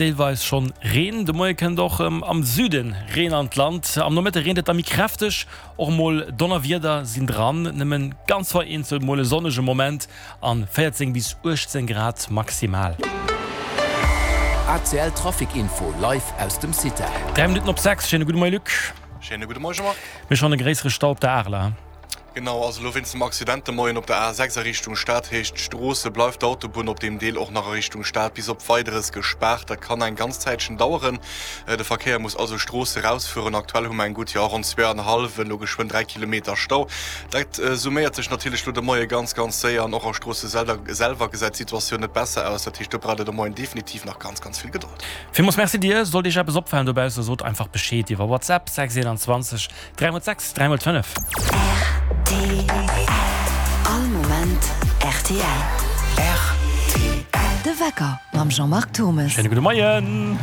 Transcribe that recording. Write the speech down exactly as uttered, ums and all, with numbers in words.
Deelweis schonn Reen. De Moie kënnt och am Süde Reen an d'Land. Am Nomëtte reent et da méi kräfteg, och mol Donnerwieder sinn dran. Nëmmen ganz vereenzelt mol e sonnege Moment an véierzéng bis uechtzéng Grad maximal. A C L Trafic Info live aus dem CITEL. Dräi Minutten op sechs. Schéine gudde Moie Luc. Schéine gudde Moie Jean-Marc. Mir schonn e gréissere Stau op der Areler. Genau, also elo wéinst dem Accident de Moien op der A sechs a Richtung Stad, heescht d'Stroosse bleift d'Autobunn op deem Deel och nach a Richtung Stad bis op Weideres gespaart. Dat kann eng ganz Zäitchen daueren. De Verkéier muss also Stroosse rausfueren. Aktuell hu mer eng gutt, jo, ronn zwee an e hallwen, elo geschwënn dräi Kilometer Stau. Dat summéiert sech natierlech elo de Moie ganz, ganz séier an och a Stroosse selwer gesäit d'Situatioun net besser aus. Dat heescht, do braucht der de Moien definitiv nach ganz, ganz vill Gedold. Villmools Merci dir. Sollt Iech eppes opfalen dobausse, sot einfach Bescheed iwwer WhatsApp, sechs eenanzwanzeg dräi mol sechs dräi mol fënnef. R T L. All Moment R T L. R T L. De Wecker mam Jean-Marc Thommes. Schéine gudde Moien.